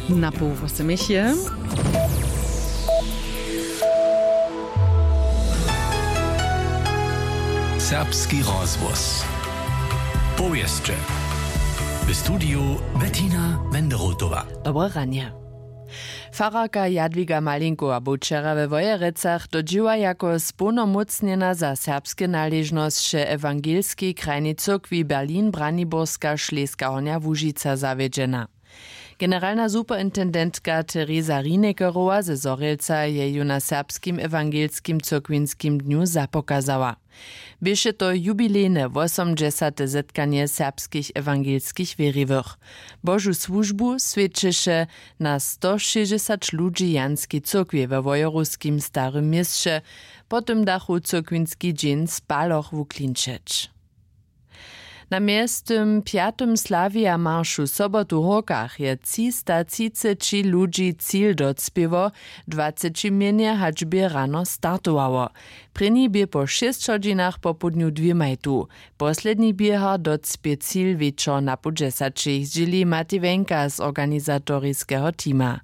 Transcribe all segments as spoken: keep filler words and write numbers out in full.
Na poł wosomich je. Serbski rozhłos. Powěsće. W studiju Bettina Wenderotowa. Dobre ranje. Fararka Jadwiga Malinkowa bu wčera we Wojerecach do dźěła jako społnomócnjena za serbske naležnosće ewangelskej krajnej cyrkwi Berlin Braniborska Šleska Hornja Łužica zawjedźena. Generalna superintendentka Teresa Rinekerowa ze Zhorjelca je ju na serbskim ewangelskim cyrkwinskim dnju zapokazała. Běše to jubilejne wosomdźesate zetkanje serbskich ewangelskich wěriwych. Božu słužbu swědčeše na stošěsćdźesać ludźi w Janskej cyrkwi we Wojerowskim Starym Měsće, po tym dachu cyrkwinski dźeń z paloch wuklinčeć. Na mjeztym pjatym Slavija maršu sobotu w Hórkach je třistotřiceći ludźi cil docpěło, dwaceći mjenje hač bě rano startowało. Prěni bě po šěsć hodźinach popołdnju dwěmaj tu. Posledni běhar docpě cil wječor na poł dźesaćich, zdźěli Mati Wenka z organizatoriskeho teama.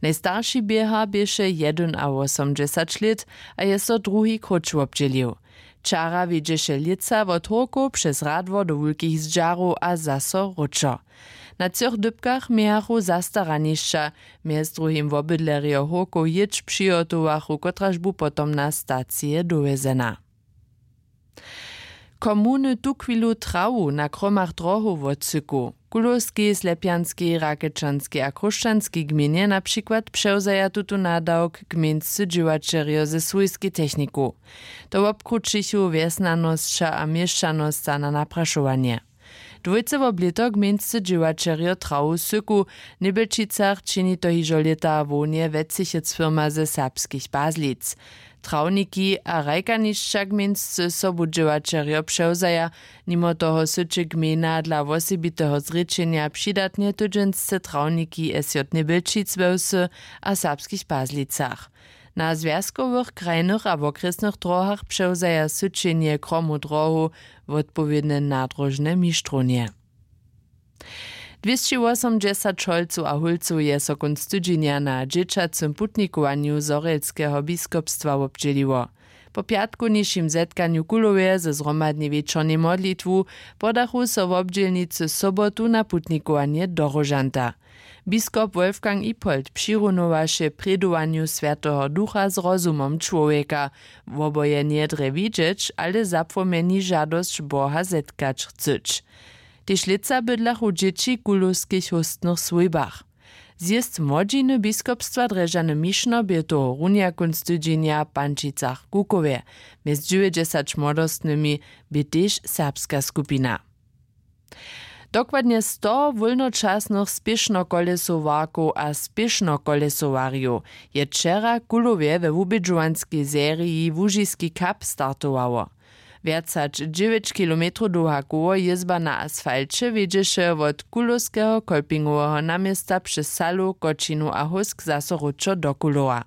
Najstarši běhar běše jedynawosomdźesać lět a je so druhi króć wobdźělił. Wčera wjedźeše lětsa wot Hórkow přez Radwor do Wulkich Zdźarow a zaso wróćo. Na třoch dypkach mějachu zastaranišća, mjez druhim wobydlerjo Hórkow jětš přihotowachu, kotraž bu potom na stacije dowjezena. Komuny tuchwilu trawu na kromach drohow wotsyku. W Kulowskej, Slepjanskej, Rakečanskej a Chróšćanskej gmejnje na přikład přewzaja tutón nadawk gmejnscy dźěłaćerjo ze swójskej techniku. To wobkrućichu wjesnjanosća a měšćanosća na naprašowanje. Dwójce wob lěto gmejnscy dźěłaćerjo trawu syku. W Njebjelčicach čini to hižo lěta hłownje Wetcychec firma ze serbskich Pazlic. Trawniki a hrajkanišća gmejnscy sobudźěłaćerjo přewzaja. Nimo toho syće gmejna dla wosebiteho zrěčenja přidatnje tydźensce trawniki SJ Njebjelčic we Wsy a Serbskich Pazlicach. Na zwjazkowych, krajnych a wokrjesnych drohach přewzaja syćenje kromu drohow wotpowědne nadróžne mištrownje. Dwěsći wosomdźesać holcow a hólcow je so kónc tydźenja na dźěćacym putnikowanju Zhorjelskeho biskopstwa wobdźěliło. Po pjatkownišim zetkanju w Kulowje ze zhromadnej wječornej modlitwu podachu so wobdźělnicy sobotu na putnikowanje do Róžanta. Biskop Wolfgang Ipold přirunowaše prědowanju Swjateho Ducha z rozumom čłowjeka, woboje njedrje widźeć, ale zapłomjeni žadosć Boha zetkać chcyć. Tež lětsa bydlachu dźěći w kulowskich hóstnych swójbach. Zjězd młodźiny biskopstwa Drježdźany Mišno bě tohorunja kónc tydźenja w Pančicach w Kukowje. Mjez dźewjećdźesać młodostnymi bě tež serbska skupina. Dokładnje sto wólnočasnych spěšnokolesowarkow a spěšnokolesowarjow je wčera w Kulowje we wubědźowanskej seriji Łužiski cup startowało. Wjac hač dźewjeć kilometrow dołha koło jězba na asfalće wjedźeše wot kulowskeho kolpingoweho naměsta přez salu, kočinu a hósk zaso wróćo do Kulowa.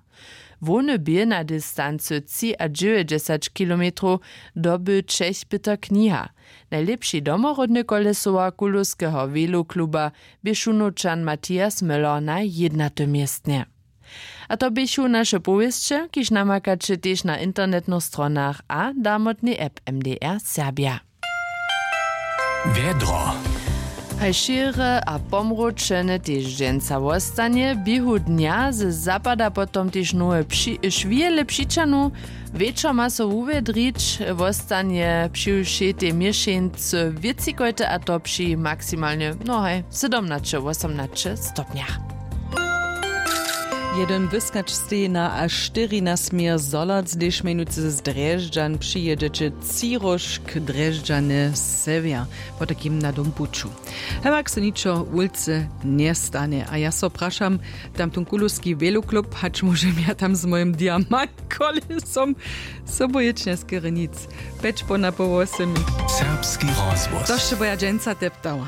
Hłowny bě na distancy třiadźewjećdźesać kilometrow dobył Čech Pětr Kniha. Najlěpši domoródny kolesowar kulowskeho welokluba bě Šunowčan Matthias Möller na jědnatym městnje. A to běchu naše powěsće, kiž namakaće tež na internetnych stronach a damotnej app M D R Serbja. Wjedro. Haj šěre a pomročene tež dźensa wostanje. W běhu dnja z zapada potom tež nowe při-, šwěle přićahnu. Wječor ma so wuwjedrić, wostanje při wšej tej měšeńcy wětřikojte, a to při maksimalnje, no haj, sydomnaće, wosomnaće stopnjach. Jedyn wyskać steji na a štyri nasměr Zhorjelc, hdyž mjenujcy z Drježdźan přijědźeće Třiróžk, Drježdźany, sewjer, potajkim na dom puću. Hewak so ničo wulce njestanje. A ja so prašam, tamtón kulowski weloklub, hač móžem ja tam z mojim diamant kolesom, sobu jětš njeskerje nic. Pjeć po na poł wosymi. Serbski rozhłos. To sće bo ja dźensa teptała.